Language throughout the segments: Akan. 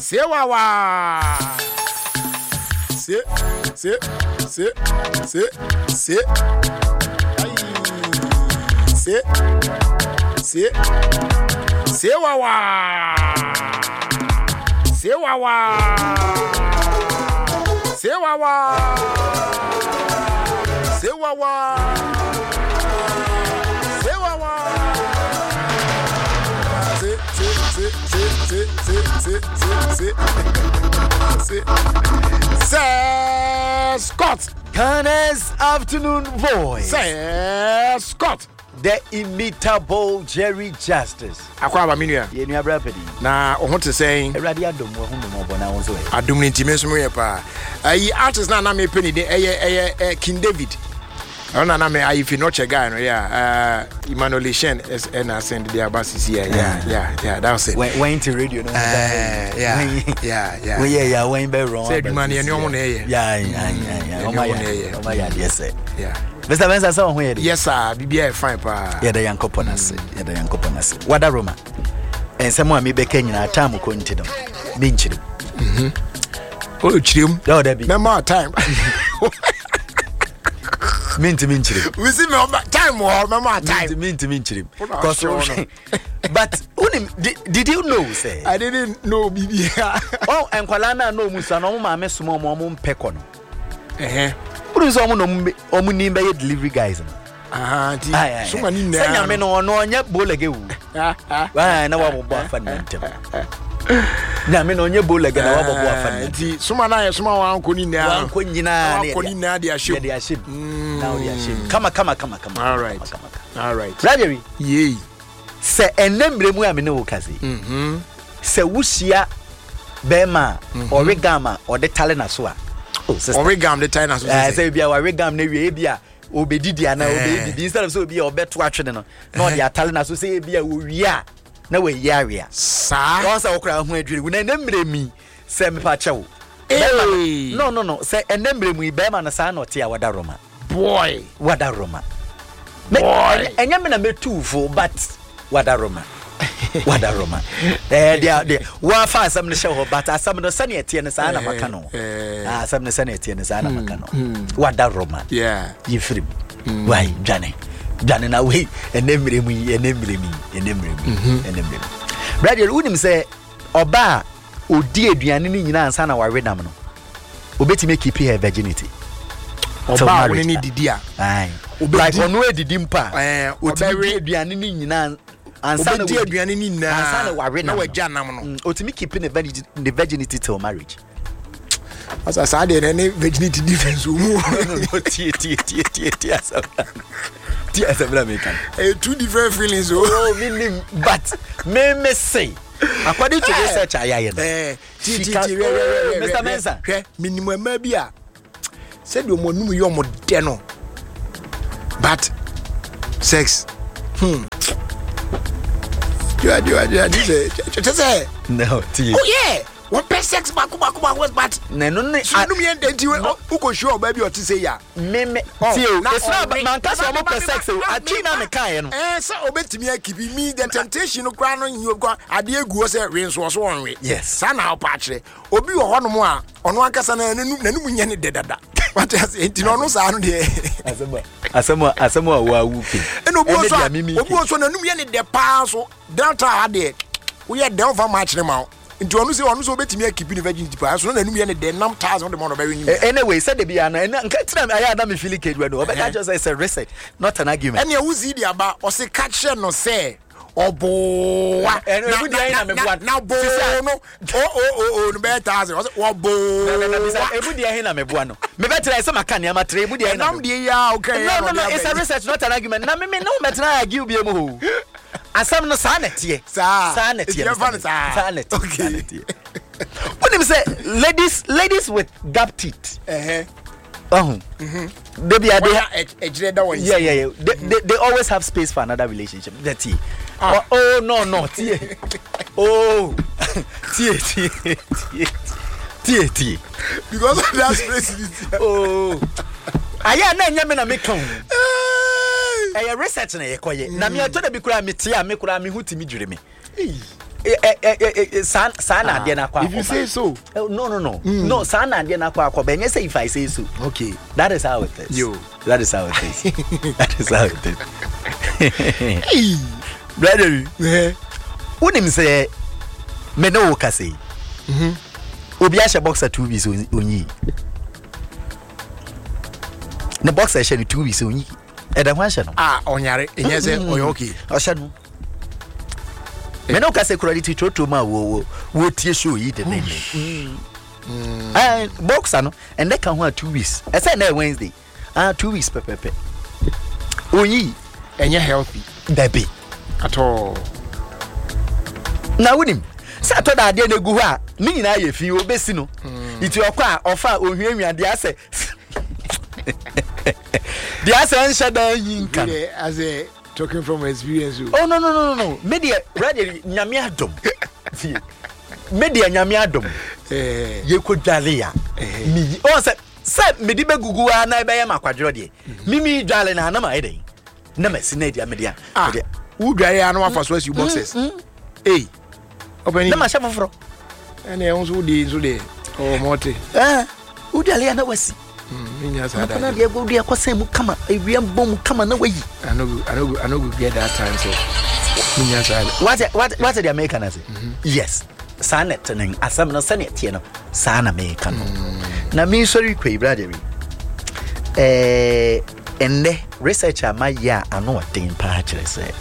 Sewawa. Se, se, se, se, se. Ai. Se, se, sewawa. Sewawa. Sewawa. Sewawa. Sewawa. Se, se, se, se, se, se, se, se, se, se. Se, Scott. Ghana's afternoon voice. Se, Scott. The imitable Jerry Justice. Akwaaba me nua. Yɛ nua bra padi. Na wo ho te sɛn? Awurade adom wɔ ho mmɔbɔ na wo nso ɛ. Adom no nti me nso meyɛ paa. Ayi artist na na mepɛ ne din ɛyɛ ɛyɛ ɛ King David. Ɛno na na me ayi fi nɔkyɛ guy no yeah. Uh, Emmanuel Shen ɛna send de aba sisi yeah yeah yeah yeah that was it. When when to radio no. Yeah yeah yeah. When yeah yeah when be wrong. Sɛ adwuma no yɛ ne ɔmo na ɛyɛ. Yeah yeah yeah yeah. Ɔmo na ɛyɛ. Ɔmo yɛ adeɛ sɛ. Yeah. Mr. Mensah sɛ ɔho yɛ de. Yes sir, biribiara yɛ fine paa. Yɛda Nyankopɔn ase. Yɛda Nyankopɔn ase. Wada Roma. Nsɛm a mebɛka nyinaa time kɔ nti no menkyerɛ mu. O kyerɛ mu. Dɛ ɔda bi. Mɛma time. Mentumi nkyerɛ mu. Mesi mɛ time wɔ hɔ mɛma time. Mentumi nkyerɛ mu. Wona Cause ɔhyɛ wo no. but wonim did you know sɛ I didn't know biribiara. oh nkwalaa no a na ɔmu sua no ɔmo maame soma ɔmo ɔmo mpɛ kɔ no. Ɛhɛn. Wonim sɛ ɔmo na ɔmo ɔmo nim bɛyɛ delivery guys no. Aha nti soma ne nyinaa. Sɛ nyame no ɔno ɔnyɛ bolege wu. Na wabɔbɔ afa ne ntɛm. Nyame no ɔnyɛ bolege na wabɔbɔ afa ne ntɛm. Nti soma na yɛ soma wankɔ ne nyinaa. Wankɔ nyinaa ne wankɔ ne nyinaa de ahyɛ mu. De ahyɛ mu. Na ɔde ahyɛ mu. Kama kama kama kama. All right. All right. Brother. Yei. Sɛ ɛnnɛ mmerɛ mu a me ne wo kasa yi, sɛ wohyia bɛrima a ɔwe gam a ɔde tale n'aso a, oh sister. Ɔwe gam de tale n'aso sɛ. Sɛ ebi a wawe gam na wie ebi a obedidi anaa obeyɛ bibi instead of sɛ obi a ɔbɛto atwene no na ɔde atale n'aso sɛ ebi a owie a na wayi awe a. Saa. Wɔn sɛ ɔkora ho adwiri wo na ɛnɛ mmerɛ mi sɛ mepa kyɛw. Bɛrima no no no sɛ ɛnɛ mmerɛ mu yi bɛrima no saa na ɔte a wada Roma. Boy. Wada Roma. Boy. Ɛnyɛ me na mɛtu fo but wada Roma. Wada Roma. Eh, deɛ deɛ wafa asɛm no hyɛ hɔ but asɛm no sɛnea ɛteɛ no saa na maka no. Eh, eh. Ah, asɛm no sɛnea ɛteɛ no saa na maka no. Wada Roma. Yeah. Yɛfiri mu. Wai dwane. Dwane na wei ɛnɛ mmerɛ mu yi ɛnɛ mmerɛ mu yi ɛnɛ mmerɛ mu yi ɛnɛ mmerɛ mu. Brother, wonim sɛ ɔbaa ɔdi aduane no nyinaa ansa na wawe nam no obetumi akipi her virginity. Ɔbaa wo ne ne didi a. Like ɔno adidi mpo a. Otumi di aduane ne nyinaa ansa na obedi aduane ne nyinaa ansa na wawe nam na wagya nam no. Otumi keep ne virginity ne virginity till marriage. Asa saa deɛ na ne virginity difference wɔ mu. No no no tie tie tie tie tie asɛm tie asɛm na meka. Ɛyɛ two different feelings o. Oh mi nim but me me say according to research a yɛayɛ no. Eh, ti ti She can ti hwɛ hwɛ hwɛ Mr. hwɛ Mensah. hwɛ menim mmaa bi a sɛdeɛ ɔmo anum yɛ ɔmo dɛ no but sex diwa diwa diwa di sɛ kyɛ sɛ No, tie. oh yeah wɔn pɛ sex baako baako baako but Na ɛno ne so anum yɛ dɛ nti wokɔ hyia ɔbaa bi a ɔte sɛ yi a me me Oh, tie o. na It's not ɔwe. manka sɛ ɔmo pɛ sex o. Na Atwi na me meka yɛ no. ɛɛ sɛ obetumi akipi mi the temptation no koraa no nyi okɔ adeɛ egu hɔ sɛ we nso ɔso ɔnwe. Yes. Saa na ɔpa akyerɛ obi wɔ hɔnom a ɔno ankasa na n'anum n'anum nyɛ ne dɛ dada wate ase nti na ɔno saa no deɛ Asɛm a asɛm a asɛm a wawu ke. ɛna obi wɔ Ɛne so deɛ a mimi obi wɔ so a n'anum yɛ ne dɛ paa so downtown ha deɛ woyɛ dɛ ɔfa ma akyerɛ ma wo nti ɔno sɛ ɔno sɛ obetumi akipi ne virginity paa so na n'anum yɛ ne dɛ nam thousand de ma ɔno ɔbɛwe ne nyinaa. Anyway, sɛ de bi ano ɛna nka tena ayɛ ada me feeling cage no ɔbɛka kyerɛ sɛ it's a research not an argument. Ɛnea wosi de aba ɔse ka kyerɛ no sɛ ɔboowa na na na boo no o o o o no bɛyɛ thousand ɔsɛ wɔboowa. Emu deɛ he na meboa no mebɛtena sɛ maka nneɛma tere emu deɛ he na ɛnam deɛ yi a ɔka yɛ no no no it's a research not an argument na me me ne wo mɛtena argue bi mu hɔ asɛm no saa na ɛteɛ saa saa na ɛteɛ yɛfa no saa saa na ɛteɛ saa na ɛteɛ wonim sɛ ladies ladies with gap teeth ɔho debi ade ɛgyerɛ da wɔn yeah yeah yeah they, they, they always have space for another relationship that tie ah. oh, oh no no tie oh tie tie tie tie tie because of that space oh ayɛ na ɛnyɛ me na meka o ɛyɛ research na yɛkɔyɛ na meɛtɔ da bi koraa metie a me koraa me ho tumi dwiri me. Saa saa na adeɛ no akɔ akɔba. If you say so. No no no. Mm. No saa na adeɛ no akɔ akɔba. Ɛnyɛ sɛ if I say so. Okay. That is how it is. Yo. That is how it is. That is how it is. Hey. Brother. Eh. Wonim sɛ me ne wo kasa yi. Mhm. Obi ahyɛ boxer 2 weeks onyi. Ne boxer hyɛ no 2 weeks onyi. Ɛda ho ahyɛ no. Ah, ɔnyare. Ɛnyɛ sɛ ɔyɛ okay. Ɔhyɛ no. Me ne wo kasa kura de ti trotro mu a wo wo tie show yi de ne ne. Eh, boxer no ɛnɛ ka ho a 2 weeks. Ɛsɛ ɛnɛ Wednesday. Ah, 2 weeks pɛpɛpɛ. Onyi. Ɛnyɛ healthy. Dabi. At all. Na wonim sɛ atɔ da adeɛ no egu hɔ a ne nyinaa yɛ fi obesi no. Nti ɔkɔ a ɔfa a ohuahua deɛ asɛ deɛ asɛ nhyɛ dan yi nka no. Asɛ talking from experience o. Oh no no no no me deɛ brother nyame adom. Tie. Me deɛ nyame adom. Eh. Yɛkɔ dwale a. Me ɔn sɛ sɛ mede bɛgugu a na ɛbɛyɛ ma akwadworɔ deɛ. Mimi dwale na anam ayɛ dɛn. Na masi na adia mede a. Ah. Wo dwale a na wafa so asi boxes. Ei. Ɔpɛni. Na mahyɛ foforɔ. Ɛne ɛho nso wodi nso deɛ ɔwɔ mɔte. Ɛɛ wodwale a na wasi. Menya saa da. Na deɛ wode akɔsɛn mu kama ewia mbɔ mu kama na wayi. I no go I no go I no go get that time so. Menya saa da. Wate wate wate deɛ meka no ase. Yes. Saa na ɛte no asɛm no sɛnea ɛteɛ no saa na meka no. Na mesɔre kɔ yi brother bi. Ɛɛ ɛnnɛ research a mayɛ a ano ɔden paa kyerɛ sɛ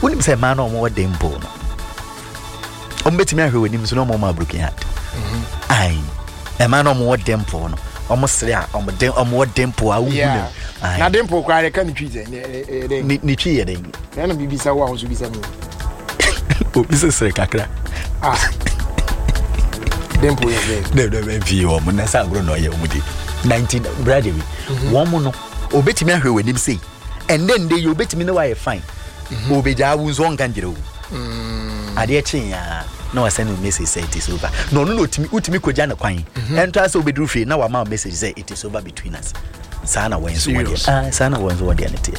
wonim sɛ mmaa no ɔmo wɔ den mpo no ɔmo bɛtumi ahwɛ wɔ anim so na ɔmo ma broken heart. Ayi mmaa no ɔmo wɔ dimple no ɔmo sere a ɔmo den ɔmo wɔ dimple a wohu no. Na dimple koraa yɛ ka ne twi sɛ ne ne ne twi yɛ den. Na na bibi sa wo a nso bisa mi. Obi sɛ sere kakra. Ah. Dimple yɛ sɛ. Dɛ dɛ bɛ fie wɔn na sɛ agorɔ na ɔyɛ wɔn di 19 brother bi wɔn mo no obetumi ahwɛ wɔ anim sei ɛndɛ ndɛ yi obetumi ne wayɛ fine obegyaa wo nso ɔnka nkyerɛ wo adeɛ kyee ya na wasɛn no message sɛ it is over na ɔno na otumi wotumi kogya ne kwan ɛnto asɛ obeduru fie na wama message sɛ it is over between us saa na wɔn nso wɔdeɛ ah saa na wɔn nso wɔdeɛ ne teɛ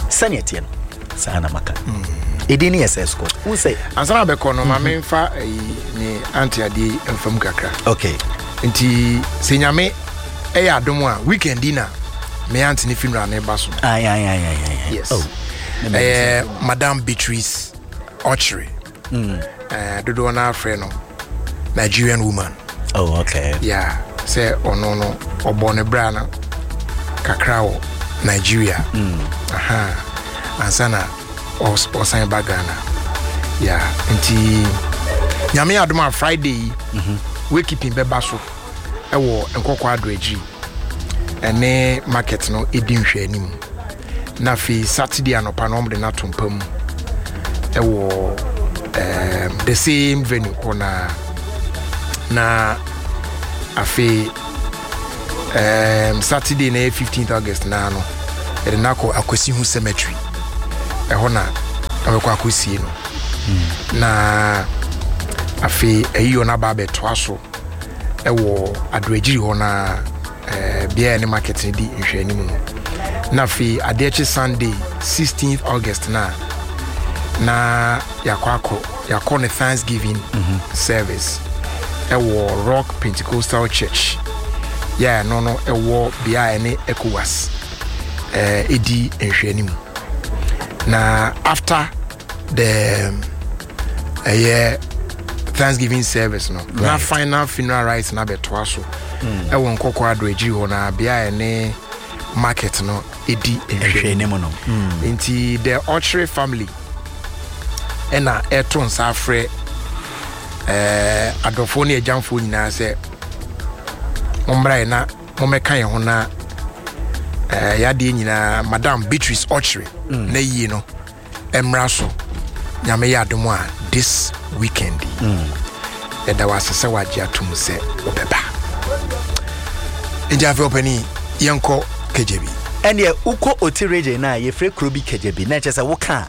sɛnea teɛ no saa na maka ɛdin ne yɛ sɛ scott wo sɛ ansa na bɛkɔ no ma memfa ayi ne ante adeɛ mfam kakra. Okay. Nti sɛ nyame ɛyɛ adom a weekend yi na me ante ne funeral ne ba so. Aye, aye, aye, aye, aye. Yes. Oh. Ɛyɛ Madam Beatrice Ochre. Eh, dodoɔ no afrɛ no Nigerian woman. Oh, okay. Yeah, sɛ ɔno no ɔbɔ ne bra no kakra wɔ Nigeria. Aha. Ansa na ɔsan ba Ghana. Yeah, nti nyame adom a Friday yi wakeeping bɛba so ɛwɔ Nkɔkɔ Addo akyiri ɛne market no ɛdi nhwɛanim. Na afei Saturday anɔpa no wɔde no ato mpa mu ɛwɔ the same venue hɔ na na afei Saturday na ɛyɛ 15th August naa no yɛde no akɔ Akwasi Cemetery ɛhɔ na ɛbɛkɔ akɔsie no. Na afei ayiyɔ no aba abɛtoa so ɛwɔ Adoagyiri hɔ na beaeɛ ne market no di nhwɛanim no. Na afei adeɛ kye Sunday 16th August na na yɛakɔ akɔ yɛakɔ ne Thanksgiving service ɛwɔ Rock Pentecostal Church yɛ ɛno no ɛwɔ beaeɛ ne ECOWAS ɛdi nhwɛanim. Na after the ɛyɛ Thanksgiving service no right. Na final funeral rites na bɛtoa so ɛwɔ Nkɔkɔ Addo akyiri hɔ na bea ɛne market no ɛdi nhwɛanim no. Nti the Ochre family ɛna ɛto nsa afrɛ adɔfoɔ ne agyamfoɔ nyinaa sɛ mommra yɛ na mommɛka yɛn ho na yɛadeɛ nyinaa Madam Beatrice Ochre na yie no mmra so nyame yɛ adom a this weekend yi. Yɛda wo ase sɛ wagye atom sɛ wobɛba. Nti afei ɔpani yɛnkɔ Kagyabi. Ɛneɛ wokɔ Oti region no a yɛfrɛ kuro bi Kagyabi na ɛkyɛ sɛ woka a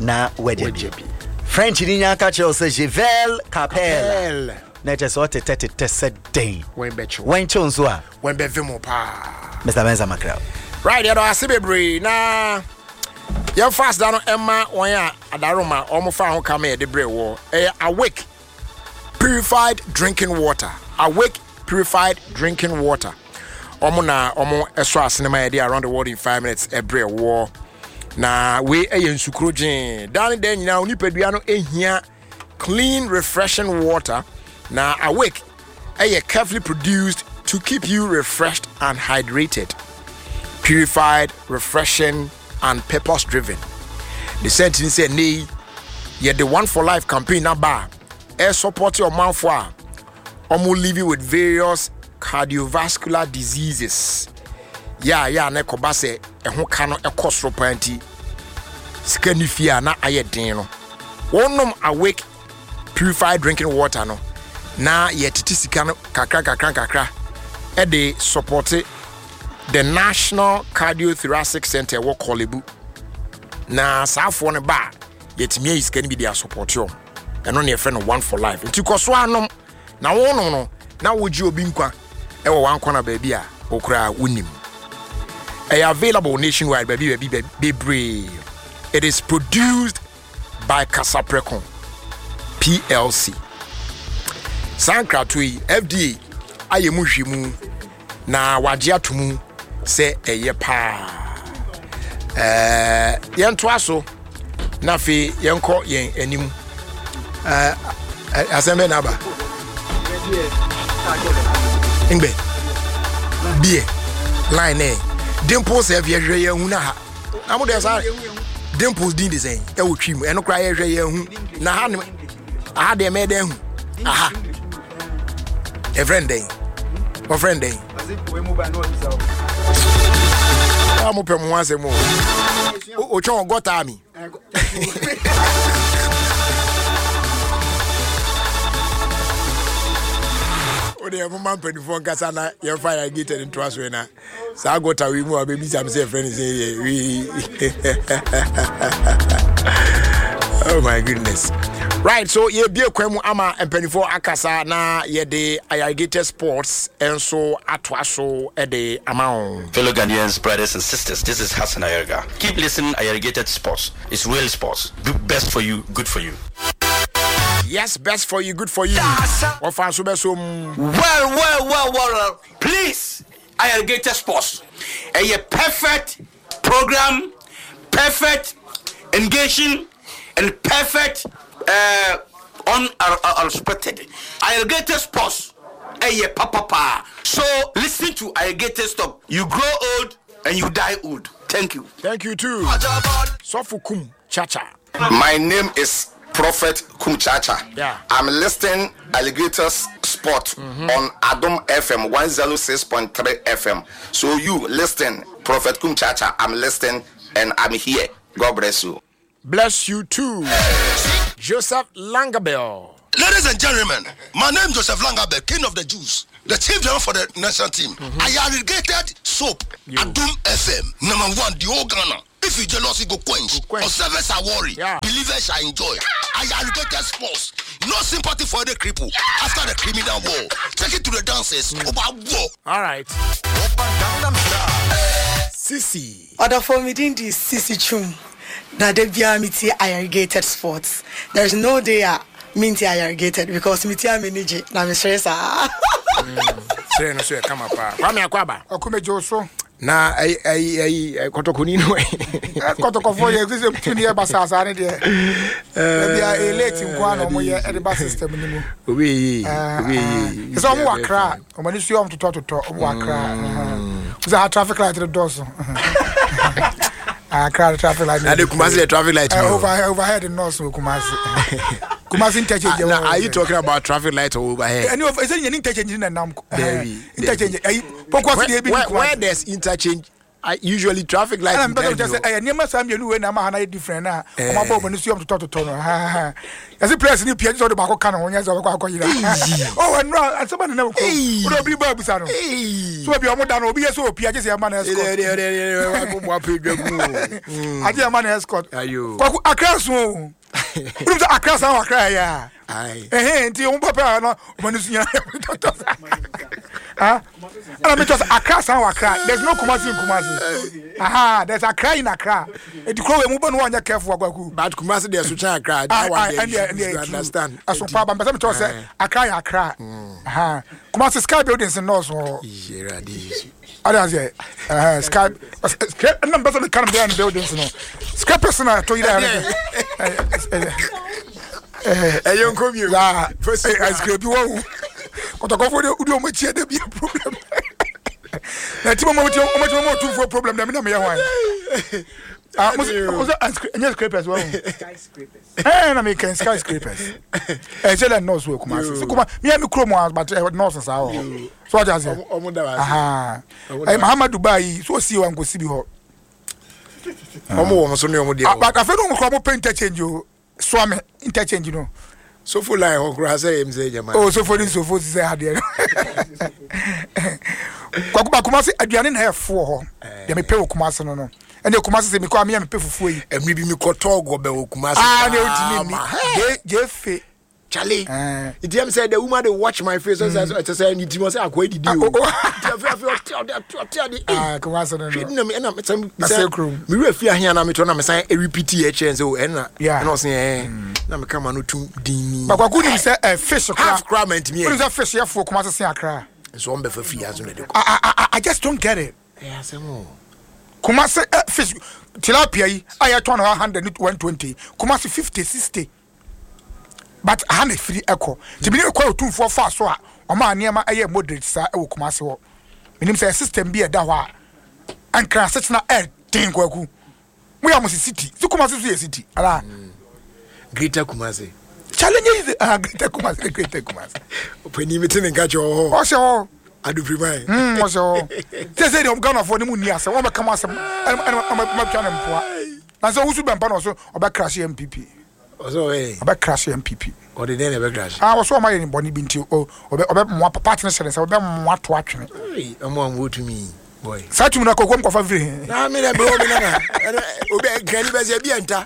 na wagya bi. French ni nya ka kyerɛ wo sɛ je vais capelle na ɛkyɛ sɛ ɔtetɛ tetɛ sɛ dɛn. Wɔnkyew nso a. Wɔn bɛve mo paa. Mr. Mensa Mackerel. Right, yɛdɔ ase bebree na. Yɛmfa aseda no ɛma wɔn a adaroma wɔn fa ho ka ma yɛde brɛ wɔ. Ɛyɛ Awake Purified Drinking Water. Awake Purified Drinking Water. Wɔn na wɔn ɛsɔ asene ma yɛde Around the World in 5 Minutes ɛbrɛ wɔ. Na wei ɛyɛ nsukuro gyee. Daa ne daa nyinaa onipadua no ehia clean refreshing water. Na Awake ɛyɛ carefully produced to keep you refreshed and hydrated. Purified, refreshing and purpose driven. Ne sɛnti ne sɛ nnɛ yi yɛde One for Life campaign aba a ɛsupɔte ɔmanfo a wɔn living with various cardiovascular diseases. Yɛ a yɛ a na ɛkɔba sɛ ɛho ka no ɛkɔ soro paa nti sika ni fie a na ayɛ den no. Wɔnom Awake purified drinking water no na yɛtete sika no kakra kakra kakra ɛde supporte the National Cardiothoracic Center ɛwɔ Korle Bu. Na saafoɔ no ba a yɛtumi ayi sika no bi de asupporte wɔn. Ɛno na yɛfrɛ no One for Life. Nti kɔ so anom na wonom no na wogye obi nkwa ɛwɔ wankɔna baabi a wokora wonim. Ɛyɛ available nationwide baabi baabi bebree. It is produced by Kasapreko PLC. Saa nkratoɔ yi FDA ayɛ mu nhwehwɛmu na wagye ato mu sɛ ɛyɛ paa. Ɛɛ yɛntoa so na afei yɛnkɔ yɛn anim. Ɛɛ asɛm bɛ na aba. Ngbɛ beer line nɛ dimples ɛfi ɛhwɛ yɛn hu na ha. Na mo deɛ saa dimples din de sɛn ɛwɔ twi mu ɛno koraa yɛhwɛ yɛn hu na ha ne aha deɛ mɛyɛ dɛn hu aha ɛfrɛ no dɛn wɔfrɛ no dɛn a mopɛ mo ho asɛm o otwɛn wɔ gɔtaa mi wodeɛ moma mpanimfoɔ nkasa na yɛmfa yɛ gated ntoa so na saa gɔta wei mu a wobɛbisa me sɛ yɛfrɛ no sɛ yɛ wei. Oh my goodness. Right, so yɛbie kwan mu ama mpanimfoɔ akasa na yɛde Ayarigated Sports nso atoa so de ama wo. Fellow Ghanaians, brothers and sisters, this is Hassan Ayariga. Keep listening Ayarigated Sports. It's real sports. Do best for you, good for you. Yes, best for you, good for you. Wɔfa nso bɛso mu. Well, well, well, well, please, Ayarigated Sports. A perfect program, perfect engaging, and perfect unexpected. Ayarigated Sports. A papa pa. So listen to Ayarigated Stop. You grow old and you die old. Thank you. Thank you too. Sofu Kum Chacha. My name is Prophet Kum Chacha. Yeah. I'm listening Alligators Sport on Adom FM 106.3 FM. So you listen, Prophet Kum Chacha. I'm listening and I'm here. God bless you. Bless you too. Joseph Langabell. Ladies and gentlemen, my name is Joseph Langabell, king of the Jews, the chief general for the national team. Ayarigated soap, Adom FM, number one, the whole Ghana. If you jealous, you go quench. Go quench. Observers are worried. Yeah. Believers shall enjoy. Ayarigated sports. No sympathy for the cripple. After the criminal war. Take it to the dancers. Over war. All right. Sisi. Ọdọfọ mi din di Sisi Chum. Na de bia mi ti Ayarigated Sports. There is no day a mi nti Ayarigated because mi ti a mi ni gye na mi sere saa. Sere no so yɛ kama paa. Kwame Akwaba. Ɔkɔmɛgye so. Na ayi ayi ayi kɔtɔkɔni no. Kɔtɔkɔfoɔ yɛ sɛ tuni yɛ basaasa ne deɛ. Ebi a elate nko ara na wɔn yɛ ɛde ba system ni mu. Obi yi obi yi. Sɛ wɔn wɔ akra wɔn ani so yɛ wɔn totɔ totɔ wɔn wɔ akra. Sɛ ha traffic light no dɔɔso. Akra traffic light. Na de Kumasi the traffic light. Overhead nɔɔso wɔ Kumasi. Kumasi interchange. Now are you talking about traffic light or overhead? Ɛni o ɛsɛ yɛn interchange na nam. Dabi. Interchange ɛyi pɔkɔ si de ebi ni Kumasi. Where there's interchange, I usually traffic light. Ɛna mpɛ sɛ ɛyɛ nneɛma saa mmienu wei na ama ha na yɛ different na ɔmo abɔ ɔmo ani so yɛ ɔmo totɔ totɔ no yɛsi players ni pia sɛ ɔde baako ka ne ho nyɛ sɛ ɔbɛkɔ akɔ yira ɔ ɛnura asɛm a nenam kurom wode obi ba abusa no so baabi ɔmo da no obi yɛ sɛ opia gye sɛ yɛma no escort agye yɛma no escort kwaku akra so o wonim sɛ akra san wɔ akra yɛ a ɛhɛn nti ɔmo papa no ɔmo ani so nyina totɔ saa. Ah, ɛna mi kyerɛ sɛ Accra san wɔ Accra. There's no Kumasi in Kumasi. Aha, there's Accra in Accra. Eti kuro wei mu bɔ no wɔnyɛ careful akwaku. But Kumasi deɛ so kyɛn Accra. That one deɛ you should understand. Ɛso paa ba mpɛsɛ mi kyerɛ sɛ Accra yɛ Accra. Aha, Kumasi sky buildings nnɔɔso hɔ. Yɛrɛ Yesu. Ade aseɛ ɛhɛn sky ɛna mpɛsɛ mi ka no bɛyɛ no buildings no scrapers na ɛtɔ yira yɛrɛ ɛyɛ nkɔ bio. Yaa ɛsikiri bi wɔ o kɔtɔkɔfo de wodi wɔn akyi ɛdɛ bi yɛ problem na ti mo mo ti mo ti mo otumfoɔ problem na mi na mi yɛ hwan ah mo sɛ ɛnyɛ scrapers wɔ o ɛɛ na mi kɛn skyscrapers ɛkyɛ dɛ nɔɔso wɔ Kumasi sɛ kuma mi yɛ mi kurom a but nɔɔso saa wɔ hɔ so ɔdi ase ɛɛ Mahamadu baa yi so osi wa nkosi bi hɔ ɔmo wɔ ɔmo so ne ɔmo deɛ wɔ but afei no ɔmo kura ɔmo pɛ interchange o Suame interchange no. Sofo line hɔ koraa sɛ yɛm sɛ gyama. Oh sofo ne sofo sisɛ adeɛ no. Kwaku ba Kumasi aduane na ɛfo wɔ hɔ. Deɛ mepɛ wɔ Kumasi no no. Ɛne Kumasi sɛ mekɔ a meyɛ mepɛ fufuo yi. Ɛmiri bi mekɔtɔɔ gɔbɛ wɔ Kumasi. Ah ne otumi ni. Gye fe. Charlie. Nti ɛm sɛ the woman dey watch my face ɔsɛ ɛsɛ sɛ ne ti ɔsɛ akɔ edidi o. Nti afei afei ɔte ɔde ɔte ade. Ah Kumasi no no. Hwɛ na ɛna sɛ sɛ mi wura fi ahia na mi tɔ na mi san repeat yɛ kyerɛ sɛ o ɛna ɛna ɔsɛ ɛɛ na mi ka ma no tum din ni. Bakwaku nim sɛ ɛ fish kora. Half kora ma ntumi yɛ. Nim sɛ fish yɛ fo Kumasi sen akra. Nso wɔn bɛ fɛ fi aso na de kɔ. I I I just don't get it. Ɛyɛ asɛm o. Kumasi ɛ fish tilapia yi a yɛ tɔn no 100 120 Kumasi 50 60. But aha na ɛfiri ɛkɔ. Nti menim kwan a Otumfoɔ faa so a ɔmaa nneɛma ɛyɛɛ moderate saa ɛwɔ Kumasi hɔ. Menim sɛ system bi a ɛda hɔ a Nkran asetena ɛden Kwaku. Moyɛ a mo se city. Se Kumasi nso yɛ city anaa? Greater Kumasi. Challenge is ah Greater Kumasi ne Greater Kumasi. Ɔpanin mi te ne nka kyɛ wɔ hɔ. Ɔhyɛ hɔ. Adupiriman. Ɔhyɛ hɔ. Sɛ sɛ deɛ Ghanafoɔ ne mu nni asɛm wɔn bɛka mo asɛm ɛna ɛna wɔn bɛtwa ne mpoa. Na sɛ owusu bɛmpa na ɔso ɔbɛ crash NPP. Ɔsɛ ɔbɛ yɛ. Ɔbɛ crash NPP. Ɔde dɛn na ɛbɛ crash? Ah ɔsɛ ɔma yɛ ne bɔne bi nti ɔbɛ ɔbɛ moa party no hyɛ ne nsa ɔbɛ moa to atwene. Ei ɔmo a ɔmo tumi boy. Saa tumi no akɔ kurom kɔfa firi he? Na me na bro me nana. Ɛno obi nkrani bɛ sɛ ebi ɛnta.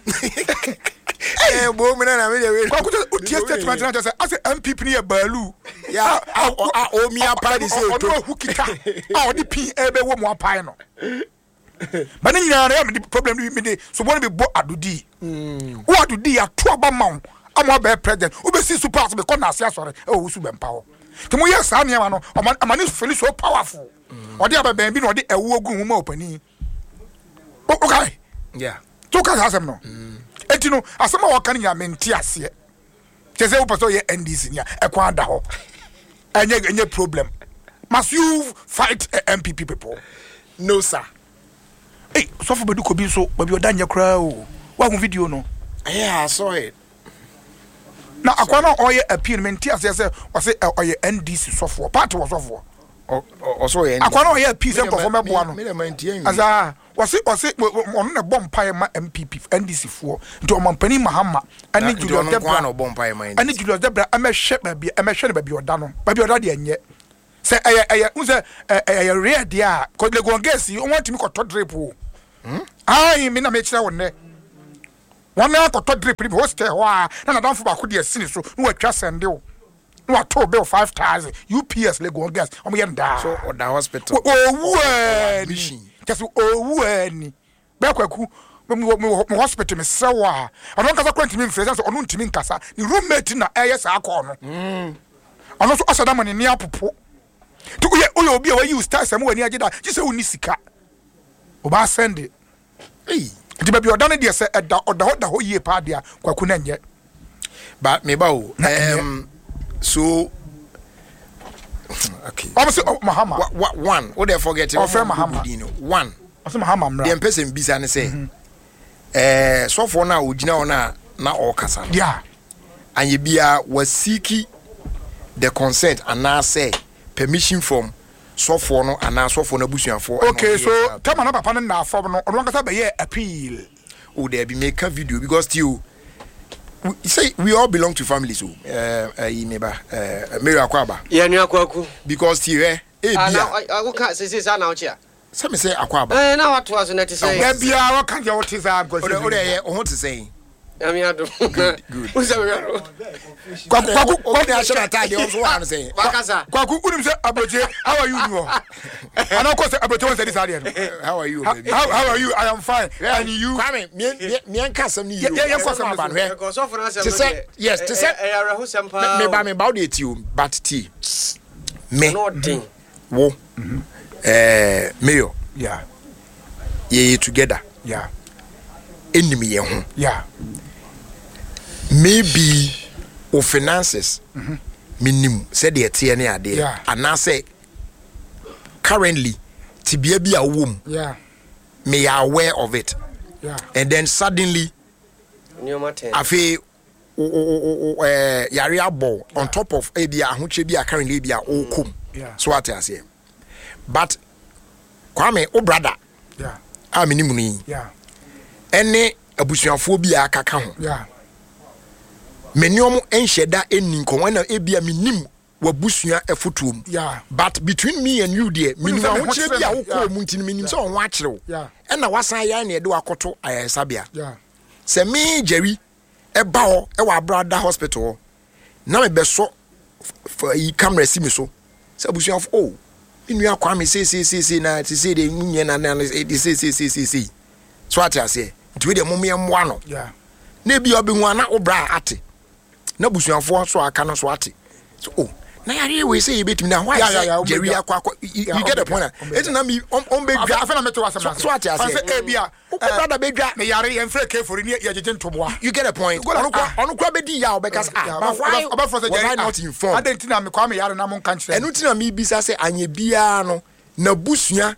Ɛɛ bo me nana me de we. Kwaku sɛ wotie statement na kyerɛ sɛ asɛ NPP no yɛ baalu. Ya a a omi apa de sɛ eto. Ɔno ahu kita a ɔde pin ɛbɛwɔ mu apae no. Ba ne nyinaa no yɛ mede problem no bi mede soboɔ no bi bɔ adodii. Mm. Wo adodii ato aba ma wo ama wabɛyɛ president wobɛsi so paa sɛ mekɔ naase asɔre ɛwɔ wo so bɛmpa hɔ. Nti moyɛ saa nneɛma no ɔma ama ne feel so powerful. Mm. Ɔde abɛbɛn bi na ɔde ɛwoɔ gu ho ma ɔpanin. Wokae? Yeah. So woka saa asɛm no? Mm. Enti no asɛm a wɔka no nyinaa mente aseɛ. Kyɛ sɛ wopɛ sɛ ɔyɛ NDC ni a ɛkwan da hɔ. Ɛnyɛ ɛnyɛ problem. Must you fight NPP people? No sir. Ei, sɔfo bɛdu kɔ bi nso baabi ɔda nyɛ koraa o. Woahu video no? Yeah, I saw it. Na akwa no a ɔyɛ appeal no mente aseɛ sɛ ɔse ɔyɛ NDC sɔfoɔ. Party wɔ sɔfoɔ. Ɔsɔ ɔyɛ NDC. Akwa no ɔyɛ appeal sɛ nkurɔfoɔ mɛboa no. Asa wɔse wɔse ɔno na ɛbɔ mpaeɛ ma NPP NDC foɔ nti ɔmampanin Mahama ɛne Julius Debra ɛne Julius Debra ɛmɛhwɛ baabi ɛmɛhwɛ no baabi ɔda no baabi ɔda deɛ nyɛ sɛ ɛyɛ ɛyɛ n sɛ ɛyɛ rare deɛ a kɔ Legon girls yi wɔn ntumi kɔtɔ drip o ayi mi na mi kyerɛ wɔn nɛ wɔn akɔtɔ drip ni bi hostel hɔ a na nadamfo baako deɛ si ne so na wɔatwa sɛnde o. na wato bill 5000 ups legon girls wɔn yɛ no daa. So ɔda hospital. Owu ani kyɛ sɛ owu ani bɛɛ kwaku mo hospital mesrɛ wo a ɔno ankasa kora ntumi mfrɛ sɛ ɔno ntumi nkasa ne roommate na ɛyɛ saa kɔɔ no mm. ɔno nso ɔsɛ da ma ne ni apopo nti woyɛ woyɛ obi a wayi wo style sɛ mo w'ani agye da gye sɛ wonni sika ɔbaa sɛnde Nti baabi ɔda no deɛ sɛ ɛda ɔda hɔ da hɔ yie paa deɛ kwaku na nyɛ. Ba me ba o. Um, so okay. Ɔmo sɛ oh, Mahama. Wa, wa, one. O de forget. Ɔfrɛ Mahama. Din no. One. Ɔsɛ Mahama mra. Deɛ mpɛ sɛ mbisa ne sɛ. Mhm. Eh, sɔfoɔ no a ogyina hɔ no a na ɔrekasa no. Yeah. Anyɛ biara wasiki the consent anaasɛ permission from sɔfoɔ no anaa sɔfoɔ no abusuafoɔ. Okay so tɛma na papa no nna fam no ɔno ankasa bɛyɛɛ appeal. Oh daabi meka video because tie o we say we all belong to families o ɛɛ ɛyi me ba ɛɛ Mary Akwaaba. Yɛ nua Kwaku. Because tie hwɛ ebi a. Ah na woka sese saa na wokye a. Sɛ me sɛ Akwaaba. Ɛɛ na watoa so na ɛte sɛn. Da biara ɔka deɛ wote saa nkwasi. Ode ode ɛyɛ wo ho te sɛn. Nyame adom. Good, good. Wo sɛ mehwɛ no. Kwaku kwaku Obi na ahyɛ n'ataadeɛ ɔnso wɔ ano sɛn. Wakasa. Kwaku wonim sɛ aburokye how are you ni hɔ anaa kɔ sɛ aburokye wɔn sɛ di saa deɛ no. How are you How, baby? how, how are you? I am fine. And you? Kwame, mmiɛnka asɛm no yie o. Yɛ- yɛ- yɛnkɔ Asɛm no asɛm no aba so. no hwɛ. Ɛkɔsɔfo no asɛm Te no sɛ deɛ, yes, te sɛ ɛyɛ awerɛhosɛm paa. meba meba wo deɛ ti o but ti me Na ɔden. wo ɛɛ mayor Yeah. yɛyɛ together Yeah. ɛnim yɛn ho Yeah. maybe wo finances menim sɛdeɛ ɛteɛ ne adeɛ Yeah. anaasɛ currently tebea bi a wowɔ mu Yeah. meyɛ aware of it Yeah. and then suddenly Nneɛma tɛn. afei wo- wo- wo- wo- yare abɔ wo on top of ebi a ahokyere bi a currently ebi a wokɔ mu Yeah. so ate aseɛ but Kwame wo brother Yeah. a menim no yi Yeah. ɛne abusuafoɔ bi a akaka ho Yeah. me ne ɔmo nhyɛ da ɛnni nkɔmmɔ ɛna ebi a menim wabusua afotuo mu Yeah. but between me and you deɛ menim sɛ me ho ahokyerɛ bi a kyerɛ me. wokɔɔ Yeah. mu nti no menim sɛ ɔho akyerɛ wo Yeah. ɛna wasan yɛ ne ɛde wakɔto ayaresabea Yeah. sɛ me Jerry ɛba hɔ ɛwɔ abrada hospital hɔ na mebɛsɔ yi camera si me so sɛ abusuafo o me nua Kwame seeseeseesei na sesei deɛ mu nyɛ na na de seeseeseesei so ate aseɛ nti wei deɛ mom yɛmmoa no Yeah. na ebi a ɔbɛhu a na wo bra ate na abusuafoɔ so aka no so ate so o na yareɛ wei sɛ yɛbɛtumi na why Yeah, yeah, yeah, sɛ Jerry ɔmbɛdwa. akɔ akɔ you Yeah, you get the ɔmbɛdwa, point a ɔmbɛdwa. ɛti na mi ɔmbɛdwa Afei na mete w'asɛm so ase. so ate Fan aseɛ sɛ ebi a wo brother bɛdwa me yare yɛmfrɛ kefori ne yɛgyegye ntoboa. you get the point Go like, ɔno kora ah. ɔno kora bɛdi yɛ a ɔbɛka sɛ ah but why ɔbɛfrɛ sɛ was Jerry, I ah, not informed adɛn nti na me Kwame yare na monka nkyerɛ me? ɛno nti na mebisa sɛ anyɛ biara no n'abusua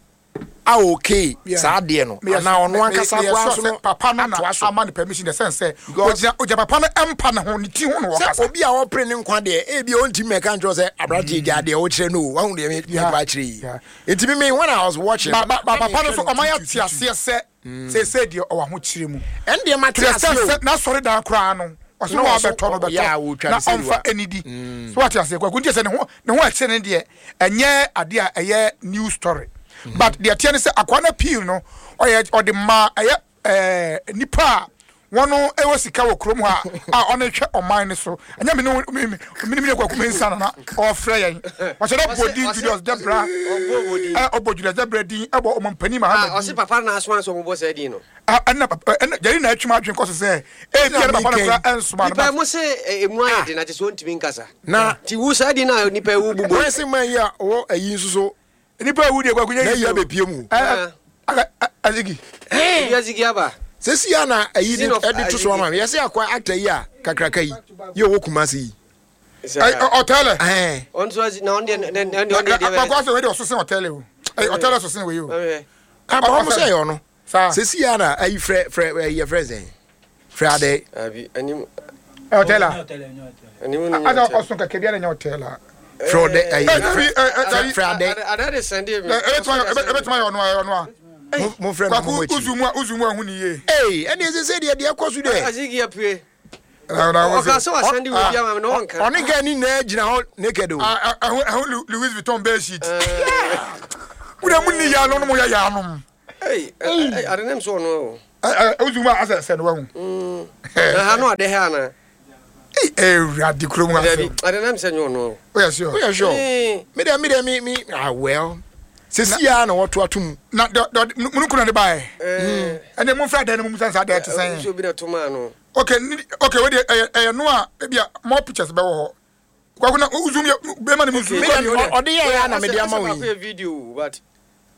a okay Yeah. saa adeɛ no Meyɛ- anaa ɔno me- ankasa meyɛ koraa sure so sɛ no papa no na atoa so ama no permission the sense sɛ Because- ogyina ogyina papa no mpa ne ho ne ti ho na sɛ wɔkasa obi a ɔpere ne nkwa deɛ ebi a ɔntumi mɛka nkyerɛ sɛ aberanteɛ gya deɛ wokyerɛ no o wahu deɛ Yeah. mekɔ akyerɛ yi Yeah. nti me me when I was watching ba ba ba na papa no mehwɛ so ɔma yɛ tutu, te tutu. aseɛ sɛ seesei deɛ ɔwɔ ahokyere mu ɛn deɛ mate to the extent aseɛ o sɛ n'asɔre dan koraa no ɔsɛ Na wɔn ɔso- abɛtɔ no yeah, bɛtɔ wɔtwa na ne sɛ ɔnfa wa. anidi so wate aseɛ kwaku nti sɛ ne ho ne ho ɛkyɛ ne deɛ ɛnyɛ adeɛ a ɛyɛ new story but deɛ teɛ ne sɛ akoa no appeal no ɔyɛ ɔde maa ɛyɛ ɛɛ nipa a wɔn ɛwɔ sika wɔ kurom ha a ɔno hwɛ ɔman no so ɛnyɛ mi ne wo- mi mi mi ne mi ne kwaku mi nsa nana ɔfrɛ yɛn ɔhyɛ dɛ bɔ din Julius Debra Ɔbɔ din. ɛ ɔbɔ Julius Debra din ɛbɔ ɔmɔmpanin Mahama Ah, din ɔse papa no asoma sɛ ɔmobɔ saa din no. Ah, ɛna papa ɛna Jerry na atwam adwene kɔ so sɛ ebi ɛna papa no kora ɛnsoma no Nipa but mo se emu ayɛ den na kyerɛ sɛ ɔntumi nkasa. Na- Nti wo saa din no a nipa ewu bubɔ. wɔn se man yi a ɔwɔ ayi nso so nipa ewu deɛ kwaku nyɛ na ayi yi o. abɛpie mu Ɛ, ɛ, ɛ, Azigi Ebi azigi aba. sɛsi a na ayi de Scene of ɛde to so ama me yɛsɛ akɔ actor yi a kakraka yi yɛ ɔwɔ Kumasi yi ɛ, ɛ, ɔtɛlɛ ɛn Ɔno nso azi na ɔno deɛ ne ne ɔno deɛ deɛ kwaku asɛ wei deɛ ɔso sen ɔtɛlɛ o ɛ, ɔtɛlɛ so sen wei o bɛ. aba wɔn sɛ ɛyɛ ɔno saa sɛsi a na ayi frɛ frɛ ɛyi yɛ frɛ sɛn frɛ adɛ Abi anim ɛ, ɔtɛlɛ anim no. a asa ɔso kɛkɛ bi ɛna nyɛ ɔtɛlɛ frɛ ɔdɛ ɛyi ɛ, dabi, ɛ, ɛ, dabi. frɛ adɛ Ada de sɛnde mi. ɛ, ɛbɛtuma yɛ ɛbɛtuma yɛ ɔno a ɛyɛ ɔno a mo mo frɛ no mo mo kwaku akyi uzu mu a uzu mu a ɛho ni yie ee ɛne ɛsɛ sɛ deɛ deɛ ɛkɔ so deɛ Azigi apue. Ɛ, na wɔn Ɔka sɛ- sɛ wasɛnde wei bi ama me na ɔnka. ɔne gɛ ne nyinaa gyina hɔ naked o Ah, ɛ, ɛho ɛho Lu- Louis Vuitton bed sheet wúdà mu ni yaanu no mu yɛ yaanu Ei, ade nem so ɔno o. ɛ ɛ uzu mu a asɛ sɛ no wahu Na ha no ade ha ana. ewurade kurom Dabi, asɛm ade nem sɛ nyɛ ɔno o. woyɛ sure woyɛ sure Eh, me deɛ me deɛ me me ah well sɛsi a na wɔto ato mu na dɔ dɔ munukun na de ba yɛ eh, ɛnna mu nfra dan no mu musa nsa dan te nso sɛn obi na to maa no. okay ni okay wo de ɛyɛ ɛyɛ no a ebi a more pictures bɛ wɔ hɔ kwaku na zoom yɛ bɛrima ni mu zoom Me deɛ, ɔde yɛ yɛ a na mede ama wo Asɛ baako yi yɛ video but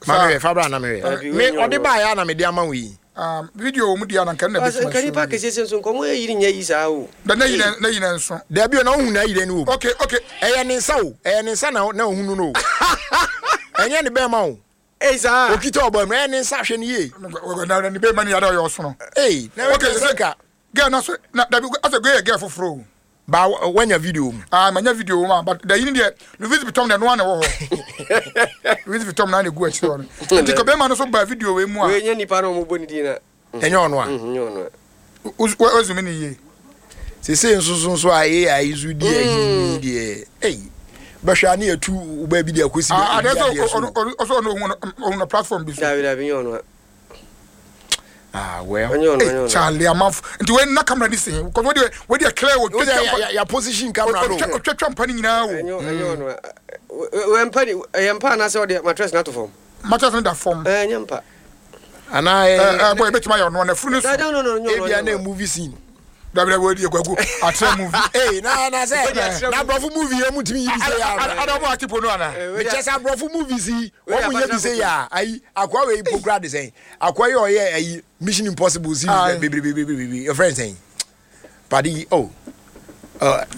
ma mehwɛ fa bra na mehwɛ Dabi, me wei nyɛ ɔde ɔno. baeɛ a na mede ama wo yi um, video wɔ mu di a na nka na Asɛ bɛtuma nka nipa kɛseɛ sɛ nso nkɔmmɔ yɛ yiri nyɛ yi saa o. da na yi na na yi na nso dabi o na wohu na ayi dɛ ne wɔ mu okay okay ɛyɛ ne nsa o ɛyɛ ne nsa na na ohunu no o ɛnyɛ ne bɛrima o Ei saa. okita ɔbɔ mu ɛyɛ ne nsa hwɛ ne yie na na ne bɛrima ni yada ɔyɛ ɔsono ee na okay okay sɛ sika girl na so na dabi asɛ girl yɛ girl foforɔ o ba wanya video mu ah manya video wɔ mu a but da yi ni deɛ Louis Vuitton deɛ noa na ɛwɔ hɔ Louis Vuitton na na egu akyire hɔ no nti ka bɛrima no so ba video wei mu a Wei nyɛ nipa na ɔmo bɔ ne din na. ɛnyɛ ɔno a Mhm, nyɛ ɔno a. o zoom ni yie sese nso so nso a AI nso di ayi deɛ ei bɛhwɛ a ne yɛtu wo baabi de akɔsi ah baabi adeɛ adeɛ sɛ so. ɔno ɔno ɔno ohun no platform bi so Dabi dabi nyɛ ɔno a. Ah well. Ɛnyɛ ɔno, ɛnyɛ ɔno. Charlie amanfo nti wei na camera ni sɛn because wei deɛ wei deɛ clear o. Wo sɛ ya ya position camera no. Otwa otwa mpa ni nyinaa o. Ɛnyɛ ɛnyɛ ɔno. Wei mpa ni ɛyɛ mpa anaasɛ ɔde mattress na ato fam. Mattress no da fam. Ɛɛ nyɛ mpa. Anaa ɛɛ. Ɛɛ boy ebetumi ayɛ ɔno na funu so. No no no nyɛ ɔno. Ebia na movie scene. Dabi dabi wei deɛ kwaku akyerɛ movie. Ee na na sɛ na aborɔfo movie yɛ mu tumi yi bi sɛ yɛ a. Ada ɔmo ati po no ana. Mekyɛ sɛ aborɔfo movies yi wɔn mu yɛ bi sɛ yɛ a ayi akoa wei mpo kura de sɛn akoa yi ɔyɛ ayi Mission Impossible series bebree yɛfrɛ no sɛn pade yi oh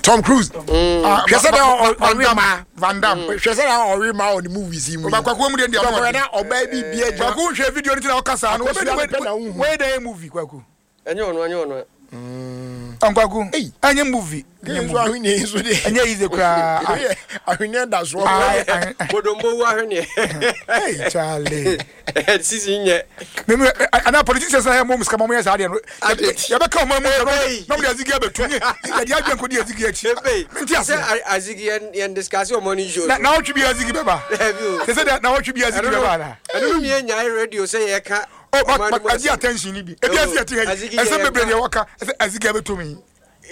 Tom Cruise hwɛ sɛ dɛ ɔwe ma Van Damme hwɛ sɛ dɛ ɔwe ma ɔne movies yi mu yi kwaku mu deɛ deɛ ɔmo na ɔbaa bi bi agyina kwaku nhwɛ video no ti na ɔka saa no wei dɛ movie kwaku. Ɛnyɛ ɔno ɛnyɛ ɔno. Nkwaku ɛnyɛ movie. Ɛnyɛ movie ahweneɛ yi nso deɛ. Ɛnyɛ easy koraa. Ahweneɛ da soɔ. Bodombo wu ahweneɛ. Hey Charlie. Sisi nyɛ. Mímu ana politicians na yɛ mɔ musika mɔ yɛ saa deɛ no. Yɛbɛ ka ɔmo mu yɛ na ɔmo de azigi abɛtu nye yɛde adwene ko di azigi akyi. Nti ase. Sɛ azigi yɛn yɛn discuss ɔmo ni show. Na ɔtwi bi azigi bɛba. Sɛ sɛ na ɔtwi bi azigi bɛba na. Ɛno no mi yɛ nyae radio sɛ yɛ ka. Oh, but but agye attention ni bi. Ebi ase yɛte ha yi. Ɛsɛ bebree deɛ wɔka ɛsɛ azigi abɛtɔ mi.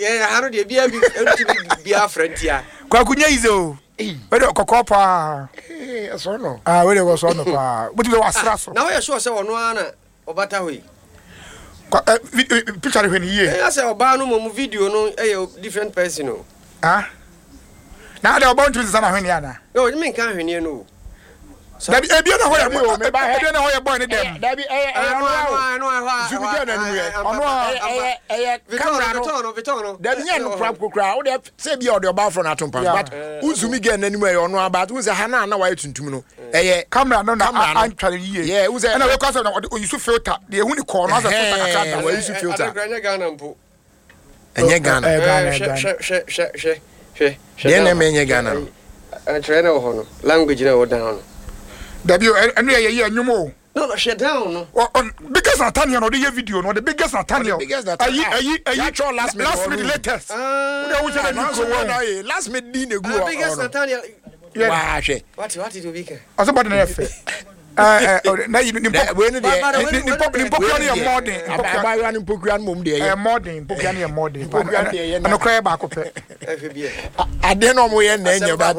Yɛ ha no deɛ bia bi ɛntumi bi afrɛ ntia. Kwaku nyɛ yize o. Wei deɛ kɔkɔɔ paa. Ɛsɔ no. Ah wei deɛ wɔsɔ no paa. Wotumi sɛ wasra so. Na woyɛ sure sɛ ɔno ara na ɔbata hɔ yi? Kwa ɛ picture no hwɛ no yie. Ɛyɛ sɛ ɔbaa no mmom video no ɛyɛ different person o. Ah. Na adɛ ɔbaa ntumi sesa n'ahweneɛ anaa? No, menka ahweneɛ no o. Dabi ebi na hɔ yɛ ebi na hɔ yɛ boy ne dɛm. Dabi ɛyɛ ɛyɛ ɔno a o. Zumi gɛ n'anim yɛ. Ɔno a ɛyɛ ɛyɛ kamera no. Dabi nyɛ no kura kura o de sɛ ebi a ɔde ɔbaa fɔlɔ n'ato mpa but o zumi gɛ n'anim ɛyɛ ɔno a but n sɛ ha na na wayɛ tuntum no ɛyɛ. Kamera no na antware yie. Yɛ n sɛ ɛna wekɔ asɛ na ɔde oyi so filter deɛ ehu ni kɔɔ no asɛ filter kakra da. Wɔyi so filter. Adakura nyɛ Ghana mpo. Ɛnyɛ Ghana. Ɛyɛ Ghana ɛyɛ Ghana. Hwɛ hwɛ hwɛ hwɛ hwɛ. Deɛ na ɛmɛ ɛnyɛ Ghana no. Ɛkyerɛ na wɔ hɔ no language na ɛwɔ down no. Dabi o ɛno yɛ yɛ ɛnwom o. No no hwɛ down no. Ɔ ɔ biggest Nathaniel na ɔde yɛ video no ɔde biggest Nathaniel. Biggest Nathaniel. Ayi ayi ayi. Yatwɔ last minute. Last minute latest. Ah. Wode ahu sɛ na ni kuro wɔn. Last minute di na egu hɔ. Biggest Nathaniel. Waa hwɛ. Wate wate de obi ka. Ɔsɛ bɔde na yɛ fɛ. Ne mpokua no yɛ mmɔden. Abaayewa no mpokua no mom deɛ yɛ. Mmɔden mpokua no yɛ mmɔden. Mpokua no deɛ yɛ. Ɛno kora yɛ baako pɛ. Adeɛ na ɔmo yɛ na ɛnyɛ ba.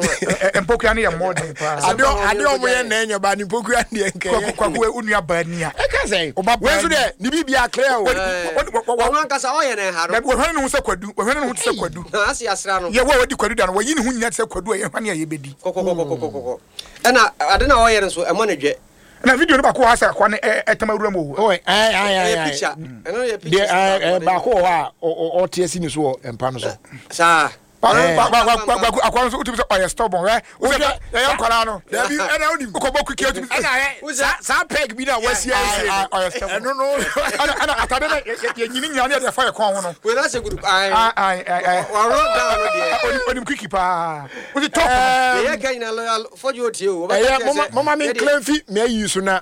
Mpokua no yɛ mmɔden paa. Adeɛ adeɛ ɔmo yɛ na ɛnyɛ ba ne mpokua no deɛ nkɛyɛ. Kwaku kwaku onua baa ni a. Ɛka sɛ. Wei nso deɛ ne biribi akra o. Ɔno ankasa ɔyɛ na ɛha no. Wɔhwɛ ne ho sɛ kwadu wɔhwɛ ne ho te sɛ kwadu. Ase asra no. Yɛ wo a wadi kwadu da no wɔyi ne ho nyinaa te sɛ kwadu a yɛhwane a yɛbɛdi. Kɔkɔkɔkɔkɔkɔ. Ɛna ade na ɔyɛ no nso ɛmɔ ne dwɛ. Na video no baako wɔ ha sɛ akoa no ɛtam awura mu o. Ɔyɛ ayi ayi ayi. Ɛyɛ picture. Ɛno yɛ picture. Deɛ ɛɛ baako wɔ hɔ a ɔte asi ne so wɔ mpa no so. Saa. Akoa no nso wotumi sɛ ɔyɛ stubborn hwɛ. Wosɛ yɛyɛ nkwadaa no. Dabi ɛna wonim. Wokɔbɔ kuki otumi. Ɛna hɛ saa peg bi na wasi asie no. Ɔyɛ stubborn. Ɛno no. Ɛna ɛna atade no yɛnyini nyina ne yɛde ɛfa yɛ kɔn ho no. Wei na sɛ gudu. Ayi. Ayi ayi. Wɔrɔ down no deɛ. Onim kuki paa. Wosi top. Yɛyɛ ka nyina lɔya fɔdwo otie o. Ɛyɛ moma moma me nklan fi me ayi so na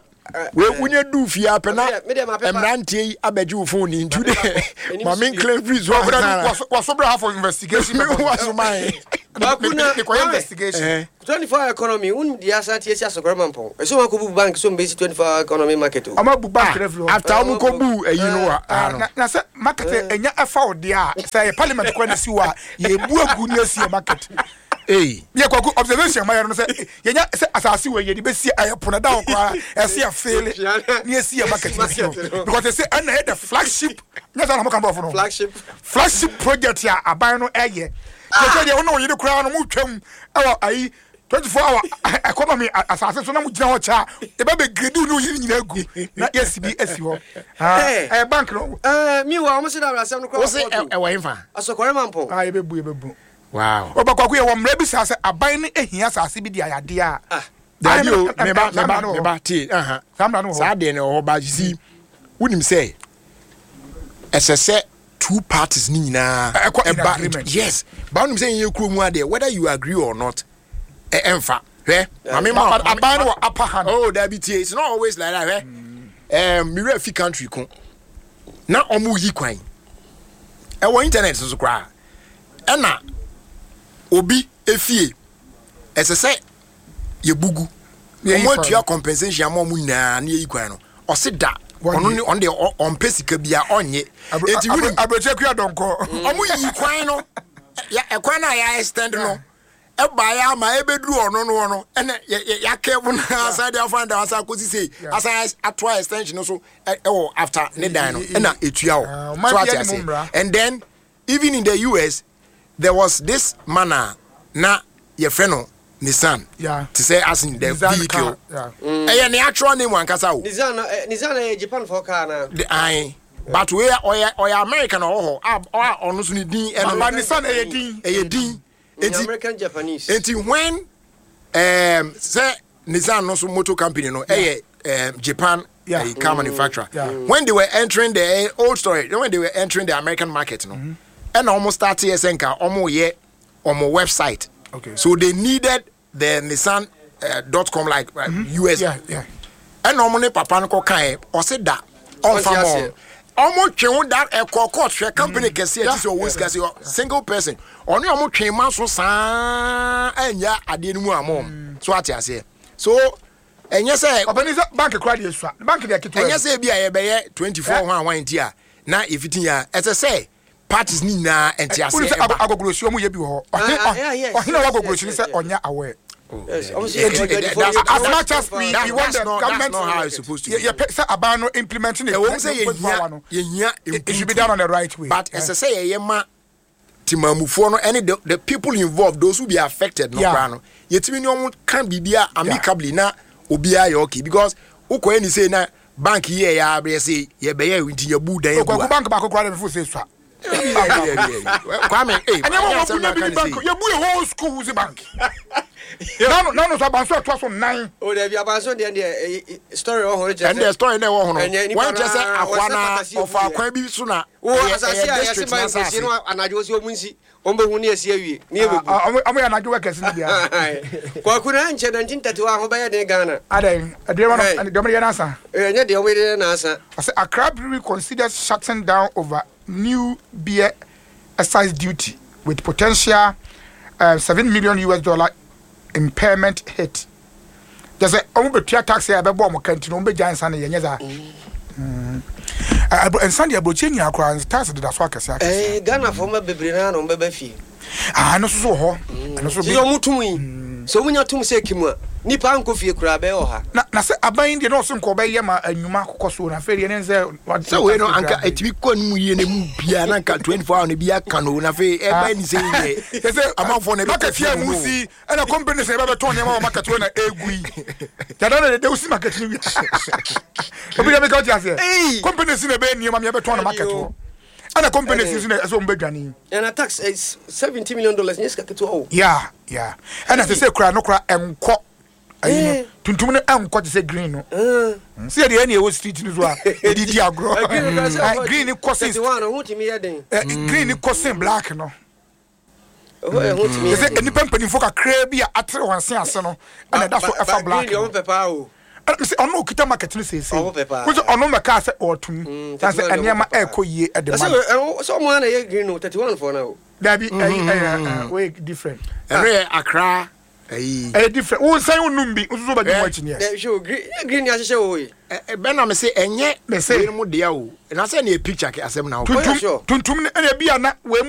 we wonya du fie apɛ na mmeranteɛ yi abɛgye wo phone ni nti de ma me nklan firi so ansa. Waso bra ha for investigation. Waso man. Baako na mekɔyɛ investigation. 24 hour economy won di asa tie si asɔkɔrɔ ma mpɔn. Ɛsɛ wɔn akɔbu bank so mbɛsi 24 hour economy market o. Ɔmo abu bank na firi hɔ. After ɔmo kɔ bu ayi no wa. Na sɛ market ɛnya ɛfa wo deɛ a sɛ ɛyɛ parliament kɔ na si hɔ a yɛbu agu ne asi yɛ market. Ei. Yɛ kwaku observation ma yɛ no sɛ yɛnya sɛ asase wɔ yɛde bɛsi ɛyɛ pono da hɔ koraa ɛsɛ yɛ feele ne yɛsi yɛ market no si hɔ because ɛsɛ ɛna yɛ the flagship nyɛ sɛ na mo ka bɔfo no flagship flagship project a aban no ɛyɛ kyerɛ deɛ wo ne wo yere koraa no mo twam ɛwɔ ayi 24 hour economy asase so na mo gyina hɔ kyɛ a yɛbɛ bɛ grade wo ne wo yere nyinaa gu na yɛsi bi asi hɔ ɛyɛ bank no. Ɛɛ mi wa wɔn se da asɛm no koraa wɔ kɔɔto. Ɛwɔ nfa. Asɔkɔrɛ ma mpɔn. Ah yɛbɛbu yɛbɛbu. Wow. Ɔba kwaku yɛ wɔ mmerɛ bi saa sɛ aban no ehia asase bi de ayɛ adeɛ a. Ah. Dabi o meba meba meba tie aha. Saa mmara no wɔ hɔ. Saa deɛ no wɔ hɔ ba you see wonim sɛ ɛsɛ sɛ two parties ni nyinaa ɛkɔ in agreement. Yes ba wonim sɛ yɛn kuro mu adeɛ whether you agree or not ɛnfa hwɛ maame ma aban no wɔ upper hand. Oh dabi tie it's not always like that hwɛ ɛɛ mewura fi country ko na ɔmo yi kwan ɛwɔ internet so koraa. Ɛna obi efie ɛsɛ sɛ yɛbugu wɔn atua compensation ama wɔn nyinaa ne yɛyi kwan no ɔse da Ɔno ne ɔno deɛ ɔmpɛ sika bia ɔnnye. Enti wonim abrɛkyɛ kua dɔnkɔ. Ɔmo yi kwan no ya ɛkwan no a yɛ extend no ɛbaeɛ ama ɛbɛduru ɔno no hɔ no ɛna yɛakɛvo no asan de afa da asan akɔsi sei asan atoa extension no so ɛwɔ after ne dan no ɛna ɛtua hɔ so ate ase. And then even in the US there was this man a na yɛfrɛ no Nissan te sɛ as in the vehicle ɛyɛ ne actual name ankasa o. Nissan Nissan ɛyɛ Japan fo car na. The ayi but wei ɔyɛ ɔyɛ American ɔwɔ hɔ a a ɔno nso ne din ɛno. But Nissan ɛyɛ din. Ɛyɛ din. Enti American Japanese. Enti when sɛ Nissan no so motor company no ɛyɛ Japan car manufacturer. When they were entering the old story, when they were entering the American market no, ɛna wɔn start yɛ sɛ nka wɔn yɛ wɔn website. Okay. So they needed the Nissan dot com like US. Ɛna wɔn ne papa no kɔ kan yɛ ɔsi da ɔnfa mɔ wɔn twe ho da ɛkɔ court hwɛ company kɛseɛ ti sɛ ɔwɔ sika sɛ single person ɔne wɔn twe ma so saa ɛnya adeɛ no mu ama wɔn so ate aseɛ so ɛnyɛ sɛ. Ɔpɛni sɛ bank kura deɛ sua bank deɛ ketewa. Ɛnyɛ sɛ ebi a yɛbɛyɛ 24 ho ahwan ti a na efiti ya ɛsɛ sɛ parties ni nyinaa ɛnte aseɛ ɛba. Agogorosi ɔmo yɛ bi wɔ hɔ ɔhene a wagogorosi ni sɛ ɔnyɛ aware. As much as we want the government, that's not how it's supposed to be. Yeah, sɛ aban no implementing it. Ɛwɔ mu sɛ yɛhia yɛhia it should be done on the right way. But ɛsɛ sɛ yɛyɛ ma timamufoɔ no ɛne the people involved, those who be affected no koraa no, yɛtumi ne ɔmo ka biribi amicably na obiara yɛ okay because wokɔ ɛni sɛ na bank yi yɛ yɛ abɛyɛ sɛ yɛbɛyɛ nti yɛbu dan egu a. Bank baako koraa de fo sɛ sua. Kwame, eh, ɛnyɛ wɔn wɔn bu bi bank yɛbu yɛ whole school wusi bank. Nanu sɔ abanso ɛtoa so 9. O dabi abanso deɛ deɛ story wɔ hɔ kyerɛ sɛ. Ɛnde story na ɛwɔ hɔ no. Wɔn kyerɛ sɛ akoa na ɔfa akwan bi so na. Wo asase a yɛsi ban nkosi no anadwo si wɔn nsi wɔn bɛ hu ne yɛsi awie ne yɛ bɛ gu. Ɔmo yɛ anadwo workers ni bia. Kwaku na nkyɛn 1931 ho bɛyɛ den Ghana. Adɛn ɛdeɛ wɔn deɛ ɔmo yɛ n'asa. Ɛnyɛ deɛ ɔmo yɛ n'asa. Ɔsɛ Accra Brewery considers shutting down over new beer excise duty with potential $7 million US dollar impairment hit. Kyerɛ sɛ ɔmo bɛtua tax a ɛbɛbɔ ɔmo ka nti no ɔmo bɛgya nsa no yɛnyɛ saa. Nsa deɛ aburokyi nyinaa koraa tax deda so akɛse akɛse. Ghana fo ma bebree naa na ɔmo bɛba fie. Ah, ɛno nso so wɔ hɔ. Ɛno nso bi. Ɔmo tum yi. Sɛ ɔmo nya tum sɛ kim a, nipa ankɔ fie koraa bɛyɛ ɔha. Na na sɛ aban yi deɛ na ɔso nka ɔbɛyɛ ma nnwuma akokɔ so na afei deɛ ne sɛ. Sɛ wei no anka ɛtumi kɔ no mu yie na mu bia na anka 24 hour no bi aka no na afei ɛba ni sɛ yɛ sɛ amanfoɔ na ɛbɛkɔ market fie yɛ mu mu si ɛna company sɛ ɛbɛbɛtɔn nneɛma wɔ market hɔ na ɛgu yi yàda na dede wosi market no wia obi deɛ meka wote aseɛ company si na ɛbɛyɛ nneɛma mi ɛbɛtɔn no market hɔ ɛna company si nso na ɛsɛ wɔn bɛdwane yi. Ɛna tax is $70 million nyɛ sika ketewa o. Ya ya ɛna sɛ sɛ kura no kura ɛnkɔ ayi no tuntum no ɛnkɔ te sɛ green no sɛ yɛde ɛna ɛwɔ street no so a yɛde di agorɔ green no kɔ sen green no kɔ sen black no. Sɛ nnipa mpanimfoɔ kakraa bi a atere wɔn se ase no ɛna ɛda so ɛfa black no sɛ ɔno okita market no seesei wo sɛ ɔno mɛkaa sɛ ɔtum na sɛ nneɛma ɛrekɔ yie ɛde ma no sɛ ɔmo ana yɛ green no 31 foɔ no o dabi ɛyi ɛyɛ wei different ɛno yɛ Accra ɛyi ɛyɛ different wo nsan wo num bi nso so bɛgye mu akyi neɛ hwɛ o green green ni ahyehyɛ wɔ hɔ yi bɛn na me se ɛnyɛ Me se. wei mu dea o na sɛ ne yɛ picture ke asɛm na wo tuntum tuntum no ɛna ebi a na wei.